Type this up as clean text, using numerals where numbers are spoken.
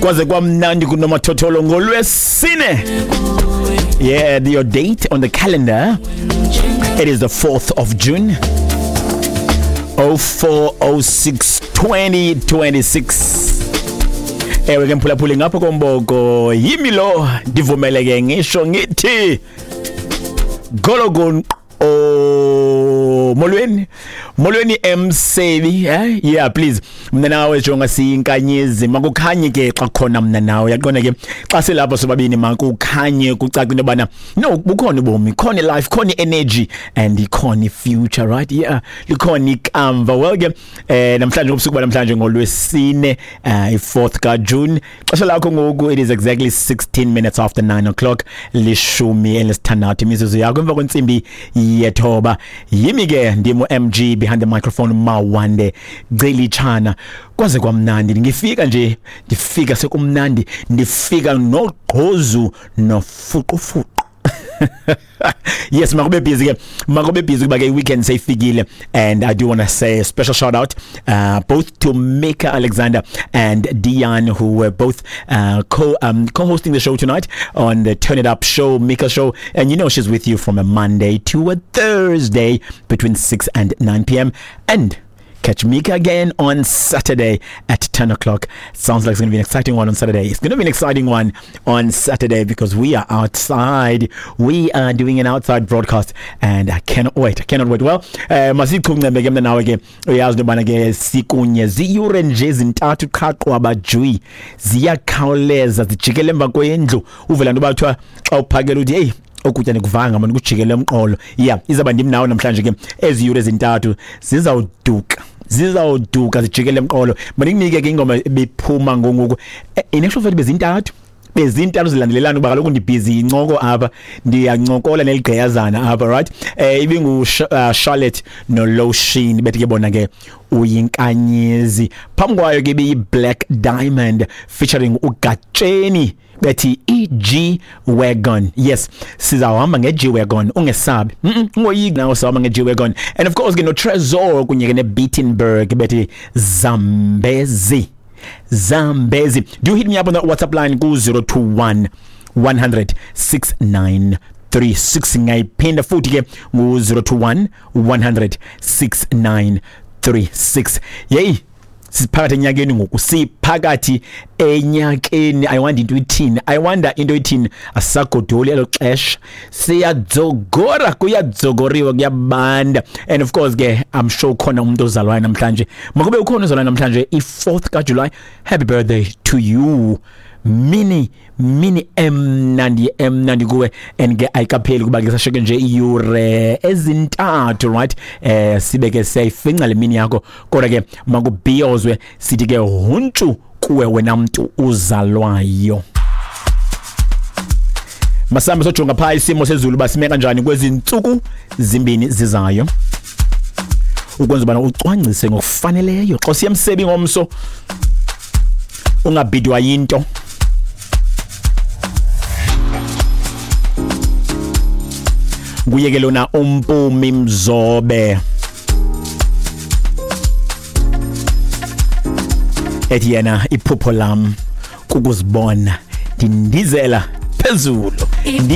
Kwaze kwamnandi kunomathotholo ngolwesine. Yeah, your date on the calendar, it is the 4th of June 0406 2026. Ewe ke mphulaphuli, ngapha komboko yimi lo, ndivumeleke ngisho ngithi gologon o molweni, molweni emsebi, eh? Yeah, please, mna nawe jonga siyinkanyezi, makukhanye ke xa khona mna nawe, yaqonda ke xa silapha sobabini, makukhanye kucace into yobana no bukhona ubomi, khona life, khona energy and ikhona future, right? Yeah, likhona ikamva. Well ke, namhlanje ngobusuku banamhlanje ngolwesine, i-4th ka June, xesha lakho ngoku it is exactly 16 minutes after 9 o'clock, 16 imizuzu yakho emva kwentsimbi yethoba. Yimi ke ndimo MG behind the microphone, Mawande Gcilitshana. Kwaze kwamnandi, ngifika nje, ndifika sekumnandi, ndifika nogqozu nofuqufuqu. Yes, makube busy ke, makube busy kuba ke weekend seyifikile. And I do want to say a special shout out both to Mika Alexander and Dion, who were both co-hosting the show tonight on the Turn It Up show, Mika show. And you know she's with you from a Monday to a Thursday between 6 and 9 p.m., and catch Mika again on Saturday at 10 o'clock. Sounds like it's going to be an exciting one on Saturday. It's going to be an exciting one on Saturday because we are outside. We are doing an outside broadcast and I cannot wait. I cannot wait. Well, masichungcembe ke mna nawe ke, uyazi into yobana ke sikunye ziyure nje ezintathu qha, qwaba jwi, ziyakhawuleza zijikele emva kwendlu. Uvela nto bathiwa xa uphakela uthi hey, okutya nikuvanga mani kujikele emqolo. Yeah, izawuba ndim nawe namhlanje ke, ezi yure ezintathu zizawuduka, zizawuduka zijikele emqolo. Mandikunike ke ingoma ebiphuma ngongoku. In actual fact bezintathu zilandelelana kuba kaloku ndibhizi incoko apha, ndiyancokola neligqiyazana apha, right? Ibingu Charlotte no Lotion, bethi ke bona ke uyinkanyezi. Phambi kwayo ke ibiyi Black Diamond featuring uGatsheni, bethi iG Wagon. Yes, sizawuhamba nge-G Wagon, ungesabi, ungoyiki nawe, sawuhamba nge-G Wagon. And of course ke no Trezor kunye ke ne-Beatenberg, bethi Zambezi, Zambezi. Do hit me up on the WhatsApp line ku 021 100 6936. Ngayiphinda futhi ke, ngu 021 100 6936. Yey, siphakathi enyakeni ngoku, siphakathi enyakeni. I wonder into ithini, I wonder into ithini. Asagodoli elo xesha, siyadzogora, kuyadzogoriwa, kuyabanda. And of course ke I'm sure khona umuntu ozalwayo namhlanje, makube ukhona ozalwayo namhlanje i-4th kaJuly, happy birthday to you. Mini mini emnandi, emnandi kuwe. And ke ayikapheli kuba ke sasheke nje iyure ezintathu, right? Sibe ke siyayifinca le mini yakho, kodwa ke makubhiyozwe, sithi ke huntshu kuwe wena mntu uzalwayo. Masambe sojonga phaa isimo sezulu basime kanjani kwezi ntsuku zimbini zizayo, ukwenza ubana ucwangcise ngokufaneleyo xa usiya emsebi ngomso, ungabhidwa yinto. Nguye ke lona uMpumi Mzobe, ethi yena iphupho lam kukuzibona ndindizela phezulu.